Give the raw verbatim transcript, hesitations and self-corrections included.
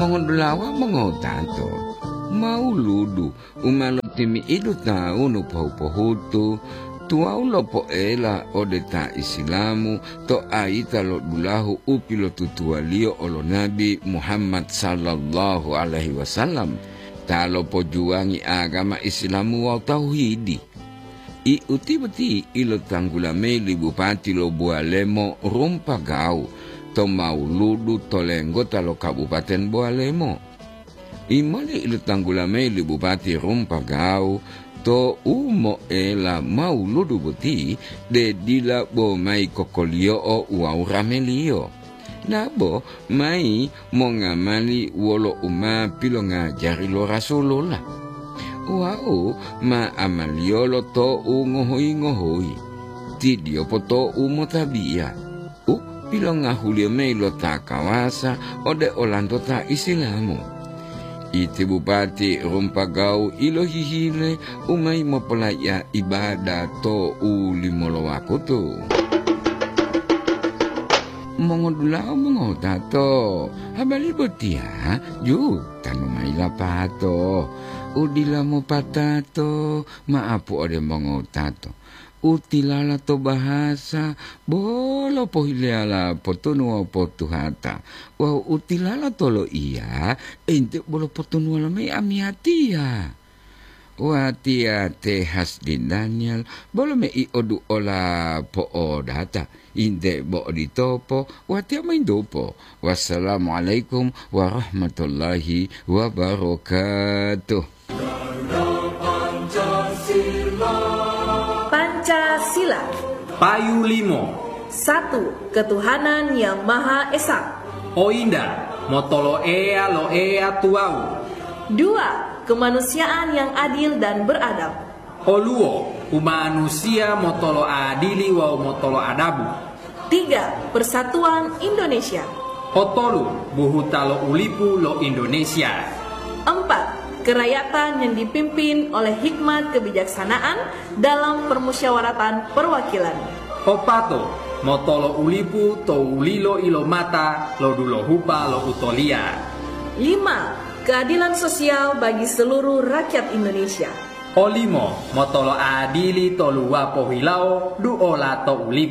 Mongodulawa mongotato, mauludu u ma lotimi'idu tawunu pohu-pohutu, tuwawu lopoela ode ta Isilamu to ayita lo dulahu u pilotutuwaliyo olo Nabi Muhammad sallallahu alaihi wasallam, ta lopojuwangi agama Isilamu wawu tauhidi. I uti boti ilotanggula mayi li bupati lo Buwalemo Rumpagawu to mauludu to lenggota lo Kabupaten Buwalemo. Imali ilotanggula mayi li bupati Rumpagawu to u moela mauludu boti, de dila bo mayi kokoliyo'o wawu rameliyo. Dabo mayi mongamali wolo u ma pilongajari lo Rasulullah. Wau ma amaliyolo to'u ngohoyi-ngohoyi, tidiyopo to'u motabiya, u pilongahuliyo mayi lo ta kawasa ode olanto ta Isilamu. Iti bupati Rumpagawu ilohihile u mayi mopolaiya ibada to u limolo wakutu. Mongodula'a mongotato, habari botiya jutanu mayi lapato. U dila mopatato, ma'apu ode mongotato. U tilala to bahasa, bolo pohileyala potunu wawu potuhata, wawu u tilala to loiya, ente bolo potunuwala mayi amiyatiya. Watiya te Hasdi Daniel, bolo mei oduola po'odata, inte bo oditopo, watiya maindopo. Wassalamualaikum warahmatullahi wabarakatuh. Pancasila. Payu limo. Satu, ketuhanan yang Maha Esa. Oinda, motolo Eya lo Eya tuwawu. Dua, kemanusiaan yang adil dan beradab. Oluwo, umanusiya motolo adili wawu motolo adabu. Tiga, persatuan Indonesia. Otolu, buhuta lo ulipu lo Indonesia. Empat, kerakyatan yang dipimpin oleh hikmat kebijaksanaan dalam permusyawaratan perwakilan. Opato, motolo ulipu to wulilo ilomata lo dulohupa lo utoliya. Lima, keadilan sosial bagi seluruh rakyat Indonesia. Olimo, motolo adili to luwapo hilawo duola to ulipu.